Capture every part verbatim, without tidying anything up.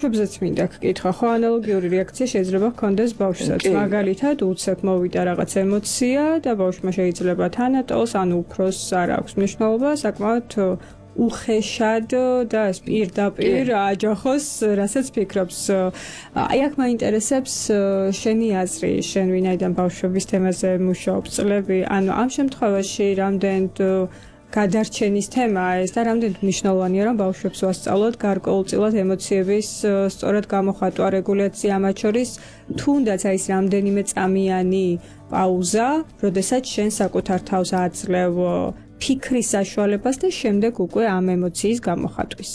ბავშვებზეც მინდა გკითხა, ხო ანალოგიური რეაქცია შეიძლება ჰქონდეს ბავშვსაც. მაგალითად, უცებ მოვიდა რაღაც ემოცია და ბავშვმა შეიძლება თანატოლს, ანუ უფროსს არ აქვს მნიშვნელობა, საკმაოდ უხეშად და პირდაპირ აჯახოს, რასაც ფიქრობს. აი აქ მაინტერესებს შენი აზრი, შენ ვინაიდან ბავშვების თემაზე მუშაობ წლები, ანუ ამ შემთხვევაში რამდენად გადარჩენის თემაა ეს და რამდენად მნიშვნელოვანია რომ ბავშვებს ვასწავლოთ გარკვეულწილად ემოციების სწორად გამოხატვა, რეგულაცია, ამათ შორის თუნდაც აი ეს რამდენიმე წამიანი პაუზა, როდესაც შენ საკუთარ თავს აძლევ ფიქრის საშუალებას და შემდეგ უკვე ამ ემოციის გამოხატვის.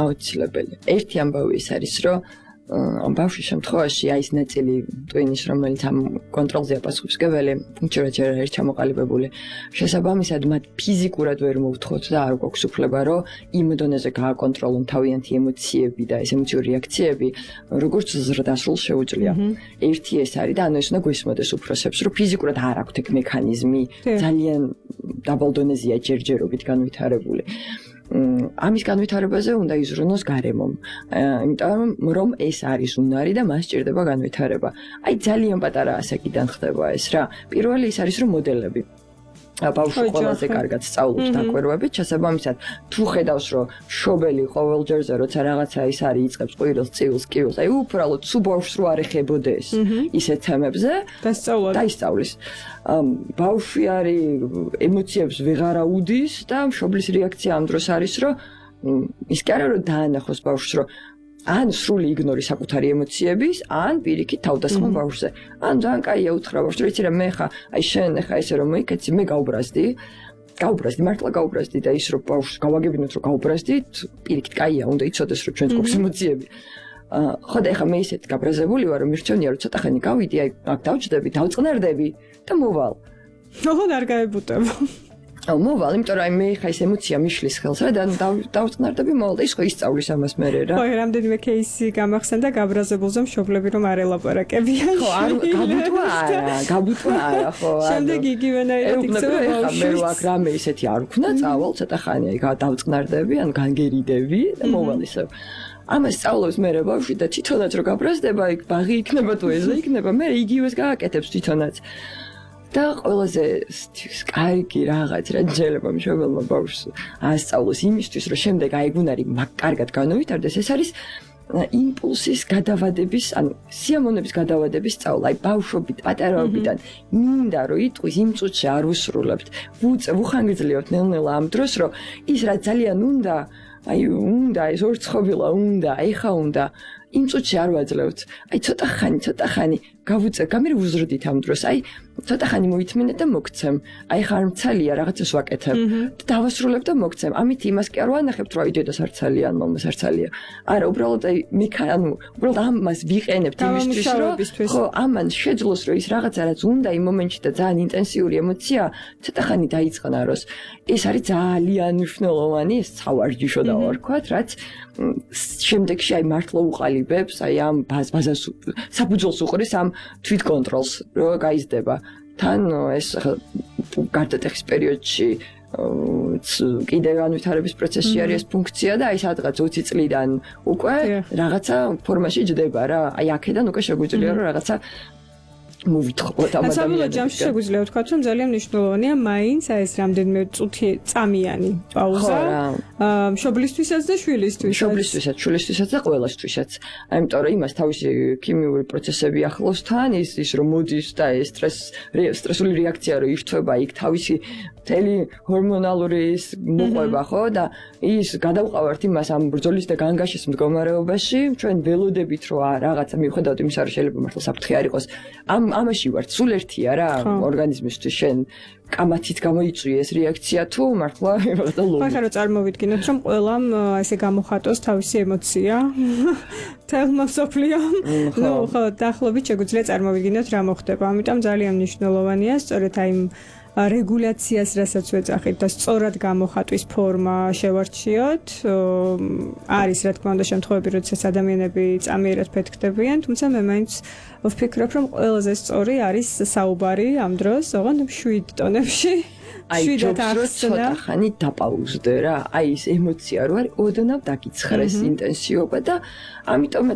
აუცილებელი. ერთი ამბავი ის არის, რომ ამ ბავშვის შემთხვევაში აი ეს ნაწილი ტვინის, რომელიც ამ კონტროლზეა პასუხისმგებელი, ჯერჯერ არის ჩამოყალიბებული. შესაბამისად, მათ ფიზიკურად ვერ მოვთხოვთ და არ გვაქვს უფლება, რომ იმ დონეზე გააკონტროლონ თავიანთი ემოციები და ეს ემოციური რეაქციები, როგორც ზრდასრულ შეუძლია. ერთი ეს არის და ანუ ეს უნდა გვესმოდეს უფროსებს, რომ ფიზიკურად არ აქვთ ეგ მექანიზმი, ძალიან დაბალ დონეზეა ჯერჯერობით განვითარებული. ამის განვითარებაზე უნდა იზრუნოს გარემომ. იმიტომ რომ ეს არის უნარი და მას სჭირდება განვითარება. აი ძალიან პატარა ასაკიდან ხდება ეს რა. პირველი ის არის რომ მოდელები. ბავშვი ყველაზე კარგად სწავლობს დაკვირვებით, შესაბამისად, თუ ხედავს რომ შობელი ყოველ ჯერზე როცა რაღაცა ის არის იწყებს ყვირილს, წივილს, კივილს, აი უბრალოდ სულ ბავშვს რო არ ეხებოდეს ისეთ თემებზე დაისწავლის. ბავშვი არის ემოციებს ვეღარ აუდის და მშობლის რეაქცია ამ დროს არის რომ ის კი არა რომ დაანახოს ბავშვს რომ ან სრული იგნორი საკუთარი ემოციების, ან პირიქით თავდასხმა ბავშვზე. ან ძალიან კაია უთხრა ბავშვს, რომ იცი რა მე ხა, აი შენ ხა ესე რომ მოიქეცი, მე გავბრაზდი, გავბრაზდი, მართლა გავბრაზდი და ის რომ ბავშვს გავაგებინოთ რომ გავბრაზდით, პირიქით კაია, უნდა იცოდეს რომ ჩვენს გვაქვს ემოციები. ხო და ეხა მე ისეთ გაბრაზებული ვარ, რომ მირჩენია რომ ცოტა ხანი გავიდი, აი აქ დავჭდები, დავწყნარდები და მოვალ. ოღონდ არ გაებუტებ. აუ მოვალ, იმიტომ რომ აი მე ხა ეს ემოცია მიშლის ხელს რა და დავწყნარდები მოვალ და ის ხო ისწავლის ამას მერე რა. ხო, რამდენიმე кейსი გამახსენდა გაბრაზებულზე მშობლები რომ არ ელაპარაკებიან. ხო, არ გაბუტვა არა, გაბუტვა არა, ხო. შემდეგ იგივენაირად იქცევა ბავშვი. მე რო აქ რამე ისეთი არ ვქნა, წავალ ცოტა ხანი აი დავწყნარდები, ან განგერიდები და მოვალ ისევ. ამას სწავლობს მერე ბავშვი და თვითონაც რო გაბრაზდება, იქ ბაღი იქნება თუ ეზო იქნება, მე იგივეს გააკეთებს თვითონაც. და ყველაზე კარგი რაღაც რა შეიძლება მშობელმა ბავშვს ასწავლოს იმისთვის, რომ შემდეგ აი გუნარი კარგად განვითარდეს, ეს არის იმპულსის გადავადების, ანუ სიამოვნების გადავადების სწავლა. აი ბავშვობით, პატარაობიდან მინდა რომ იტყვის იმ წუთში არ უსრულებთ. ვუხანგრძლივებთ ნელ-ნელა ამ დროს, რომ ის რა ძალიან უნდა, აი უნდა ეს ორცხობილა უნდა, ეხა უნდა იმ წუთში არ ვაძლევთ. აი ცოტა ხანი, ცოტა ხანი გავუწევ, გამერ ვუზრდით ამ დროს. აი ცოტა ხანი მოითმინე და მოგცემ. აი ხარ მცალია რაღაცას ვაკეთებ და დავასრულებ და მოგცემ. ამით იმას კი არ ვანახებთ, რომ აი დედას არ ცალია, ან მამას არ ცალია. არა, უბრალოდ აი მექა, ანუ უბრალოდ ამას ვიყენებთ იმისთვის, რომ ხო, ამან შეძლოს, რომ ის რაღაცა რაც უნდა იმ მომენტში და ძალიან ინტენსიური ემოცია ცოტა ხანი დაიწყნაროს. ეს არის ძალიან მნიშვნელოვანი, ეს სავარჯიშო და ვარქვათ, რაც შემდეგში აი მართლა უყალიბებს, აი ამ ბაზას საფუძველს უყრის ამ თვითკონტროლს, რო გაიზრდება. თან ეს გარდატეხის პერიოდში კიდე განვითარების პროცესში არის ეს ფუნქცია და აი სადღაც ოცი წლიდან უკვე რაღაცა ფორმაში ჯდება რა. აი აქედან უკვე შეგვიძლია რომ რაღაცა მოვითხოვოთ ამ ადამიანებს. საბოლოო ჯამში შეგვიძლია ვთქვათ, რომ ძალიან მნიშვნელოვანია მაინც აი ეს რამდენიმე წუთი წამიანი პაუზა. მშობლისთვისაც და შვილისთვისაც. მშობლისთვისაც, შვილისთვისაც და ყველასთვისაც. ამიტომ რომ იმას თავისი ქიმიური პროცესები ახლავს თან, ის ის რომ მოდის და ეს სტრეს სტრესული რეაქცია რომ ირთვება, იქ თავისი მთელი ჰორმონალური ის მოყვება, ხო და ის გადავყავართ იმას ამ ბრძოლის და განგაშის მდგომარეობაში, ჩვენ ველოდებით რომ რაღაცა მივხვდათ იმის არ შეიძლება მართლა საფრთხე არ იყოს. ამ ამაში ვართ, სულ ერთია რა ორგანიზმისთვის შენ კამათით გამოიწვია ეს რეაქცია თუ მართლა და ლოგიკა. ხო, ხარო წარმოვიდგინოთ, რომ ყველამ ესე გამოხატოს თავისი ემოცია. თელმა მსოფლიომ. ნუ ხო, დაახლოებით შეგვიძლია წარმოვიდგინოთ რა მოხდება. ამიტომ ძალიან მნიშვნელოვანია სწორედ აი რეგულაციას, რასაც ვეძახით და სწორად გამოხატვის ფორმა შევარჩიოთ. არის რა თქმა უნდა შემთხვევები, როდესაც ადამიანები წამიერად ფეთქდებიან, თუმცა მე მაინც ვფიქრობ, რომ ყველაზე სწორი არის საუბარი ამ დროს, ოღონდ შვიდ ტონებში აი ჯობს რომ ცოტა ხანი დაპაუზდე რა. აი ეს ემოცია რო არის, ოდნავ დაგიცხრეს ინტენსივობა და ამიტომ